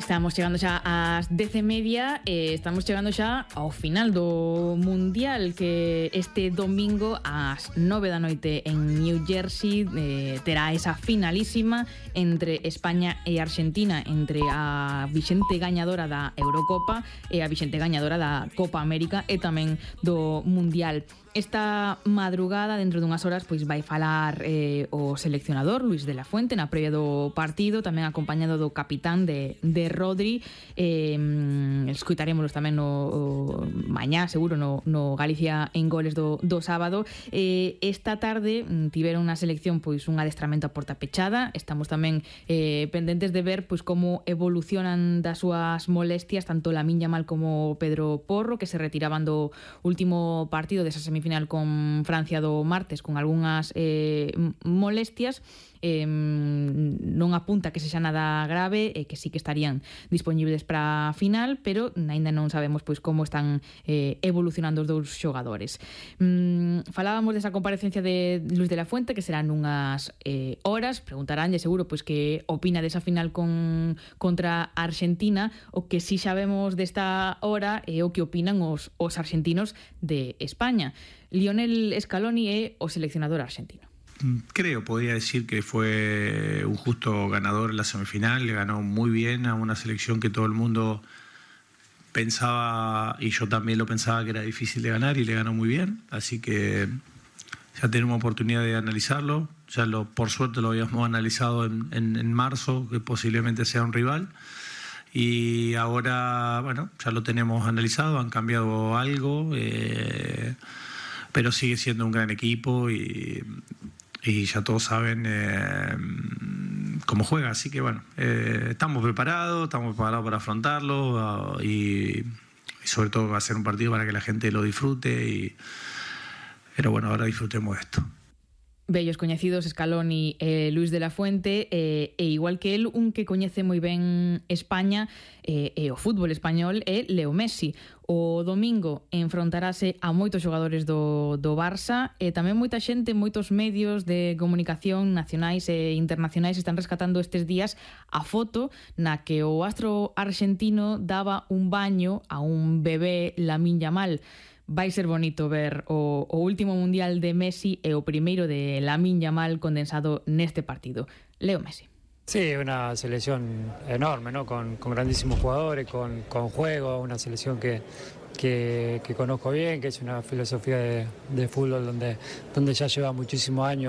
Estamos chegando xa ás 10:30 e estamos chegando xa ao final do Mundial, que este domingo ás 9 da noite en New Jersey terá esa finalísima entre España e Argentina, entre a vixente gañadora da Eurocopa e a vixente gañadora da Copa América e tamén do Mundial. Esta madrugada, dentro dunhas horas, pois vai falar o seleccionador Luis de la Fuente na previa do partido, tamén acompañado do capitán de Rodri. Escuitarémolos tamén no mañá, seguro, no Galicia en Goles do sábado. Esta tarde tiveron na selección pois un adestramento a porta pechada. Estamos tamén pendentes de ver pois como evolucionan das súas molestias tanto Lamine Yamal como Pedro Porro, que se retiraban do último partido desa semifinal con Francia do martes con algunhas molestias. Non apunta que sexa nada grave e que sí que estarían disponibles para a final, pero aínda non sabemos pois como están evolucionando os dous xogadores. Falábamos desa comparecencia de Luis de la Fuente, que serán unhas horas. Preguntaránlle seguro pois que opina desa final contra Argentina. O que sí sabemos desta hora é o que opinan os argentinos de España. Lionel Scaloni é o seleccionador argentino. Creo, podría decir que fue un justo ganador en la semifinal, le ganó muy bien a una selección que todo el mundo pensaba, y yo también lo pensaba, que era difícil de ganar, y le ganó muy bien, así que ya tenemos oportunidad de analizarlo. Por suerte lo habíamos analizado en marzo, que posiblemente sea un rival, y ahora, bueno, ya lo tenemos analizado, han cambiado algo, pero sigue siendo un gran equipo y ya todos saben cómo juega, así que bueno, estamos preparados para afrontarlo, y sobre todo va a ser un partido para que la gente lo disfrute, pero bueno, ahora disfrutemos de esto. Bellos coñecidos Scaloni e Luis de la Fuente, e igual que el, un que coñece moi ben España e o fútbol español é Leo Messi. O domingo enfrontarase a moitos xogadores do Barça, e tamén moita xente, moitos medios de comunicación nacionais e internacionais están rescatando estes días a foto na que o astro argentino daba un baño a un bebé Lamine Yamal. Vai ser bonito ver o último Mundial de Messi e o primeiro de Lamine Yamal condensado neste partido. Leo Messi. Sí, una selección enorme, ¿no? Con grandísimos jugadores, con juego, una selección que conozco bien, que es una filosofía de fútbol donde ya lleva muchísimos años